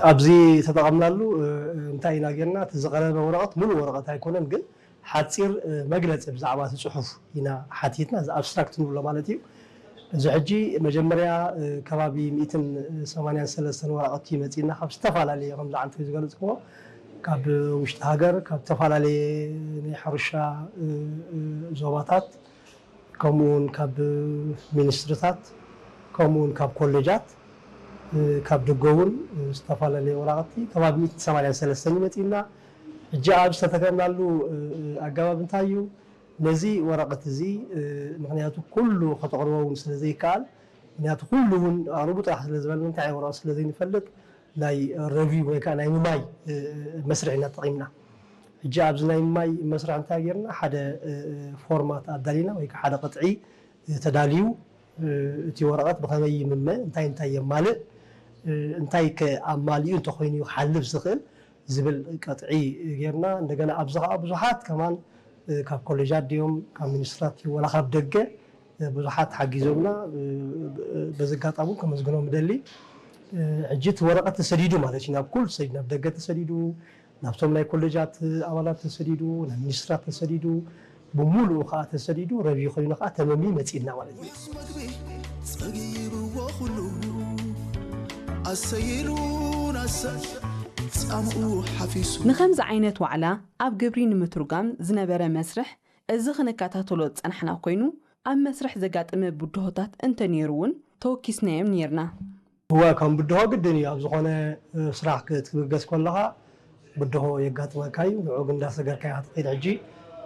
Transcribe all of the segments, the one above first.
ኣብዚ ተጠቐምናሉ እንታይ ኢና ጌርና? እቲ ዝቐረበ ወረቐት ሙሉእ ወረቐት ኣይኮነን፣ ግን ሓፂር መግለፂ ብዛዕባ እቲ ፅሑፍ ኢና ሓቲትና፣ እዚ ኣብስትራክት ንብሎ ማለት እዩ። እዚ ሕጂ መጀመርያ ከባቢ ሚእትን ሰማንያን ሰለስተን ወረቐቲ መፂና ካብ ዝተፈላለየ፣ ከምዚ ዓንተ ዝገለፅክዎ፣ ካብ ውሽጢ ሃገር፣ ካብ ዝተፈላለየ ናይ ሕርሻ ዞባታት፣ ከምኡውን ካብ ሚኒስትርታት፣ ከምኡውን ካብ ኮሌጃት፣ ካብ ደገ እውን ዝተፈላለየ ወረቐቲ ከባቢ ሚእትን ሰማንያን ሰለስተን ይመፅና። ሕጂ ኣብ ዝተተከምናሉ ኣገባብ እንታይ እዩ? ነዚ ወረቐት እዚ፣ ምክንያቱ ኩሉ ከተቕርቦ እውን ስለ ዘይከኣል፣ ምክንያቱ ኩሉ እውን ኣቕርቡ ጥራሕ ስለ ዝበልና እንታይ ወረቐት ስለ ዘይንፈልጥ፣ ናይ ረቪው ወይ ከዓ ናይ ምማይ መስርሕ ኢና ተጠቒምና። ሕጂ ኣብዚ ናይ ምማይ መስርሕ እንታይ ጌርና? ሓደ ፎርማት ኣዳሊና ወይ ከዓ ሓደ ቅጥዒ ተዳልዩ፣ እቲ ወረቐት ብኸመይ ይምመ፣ እንታይ እንታይ የማልእ፣ እንታይ ከ ኣማሊኡ እንተኾይኑ እዩ ክሓልፍ ዝኽእል ዝብል ቅጥዒ ጌርና። እንደገና ኣብዚ ከዓ ብዙሓት ከማን ካብ ኮሌጃት ድዮም ካብ ሚኒስትራት ድዮም ወላ ካብ ደገ ብዙሓት ሓጊዞምና። በዚ ኣጋጣሚ እውን ከመስግኖም እደሊ። ሕጂ እቲ ወረቐት ተሰዲዱ ማለት እዩ፣ ናብ ኩሉ ተሰዲዱ፣ ናብ ደገ ተሰዲዱ፣ ናብቶም ናይ ኮሌጃት ኣባላት ተሰዲዱ፣ ናብ ሚኒስትራት ተሰዲዱ፣ ብምሉኡ ከዓ ተሰዲዱ፣ ረቪው ኮይኑ ከዓ ተመምዩ መፂእና ማለት እዩ። ጸጊብዎ ኩሉ ኣሰይሉ ናሰ ጻምኡ ሓፊሱ። ንኸምዚ ዓይነት ዋዕላ ኣብ ግብሪ ንምትርጓም ዝነበረ መስርሕ እዚ ክንከታተሎ ዝጸናሕና ኮይኑ፣ ኣብ መስርሕ ዘጋጠመ ብድሆታት እንተነይሩ እውን ተወኪስናዮም ነይርና። እወ፣ ከም ብድሆ ግድን እዩ። ኣብ ዝኾነ ስራሕ ክትብገስ ከለኻ ብድሆ የጋጥመካ እዩ። ንዑ ግን እንዳሰገርካ ኢኻ ትኸይድ። ሕጂ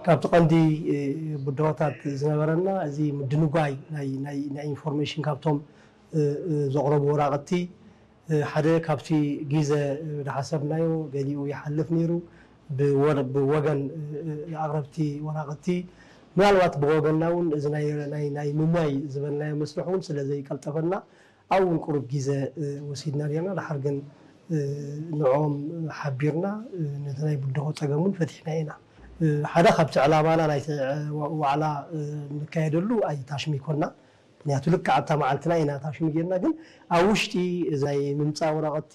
ካብቲ ቀንዲ ብድሆታት ዝነበረና እዚ ምድንጓይ ናይ ናይ ናይ ኢንፎርሜሽን ካብቶም ዘቕረቡ ወራቕቲ ሓደ ካብቲ ግዘ ዝሓሰብናዮ ገሊኡ ይሓልፍ ነይሩ። ብወገን ኣቕረብቲ ወራቕቲ ምናልባት ብወገንና እውን እዚ ናይ ናይ ናይ ምሟይ ዝበልናዮ መስርሕ እውን ስለ ዘይቀልጠፈና ኣብኡ እውን ቁሩብ ግዘ ወሲድና ኔርና። ድሓር ግን ንዕኦም ሓቢርና ነቲ ናይ ብድሆ ፀገም እውን ፈቲሕናዮ ኢና። ሓደ ካብቲ ዕላማና ናይቲ ዋዕላ ንካየደሉ ኣይታሽም ይኮንና። ምክንያቱ ልክዕ ኣብታ መዓልትና ኢና ታሽም ጌርና፣ ግን ኣብ ውሽጢ እዚ ናይ ምምፃእ ወረቐቲ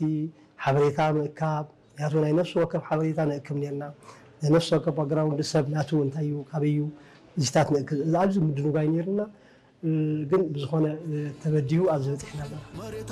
ሓበሬታ ምእካብ፣ ምክንያቱ ናይ ነፍሲ ወከፍ ሓበሬታ ንእክብ ኔርና። ናይ ነፍሲ ወከፍ ባክግራውንድ ሰብ ናቱ እንታይ እዩ፣ ካበይ እዩ፣ እዚታት ንእክብ። ኣብዚ ምድንጓይ ኔርና፣ ግን ብዝኾነ ተበዲሁ ኣብዚ በፂሕና ኣለና።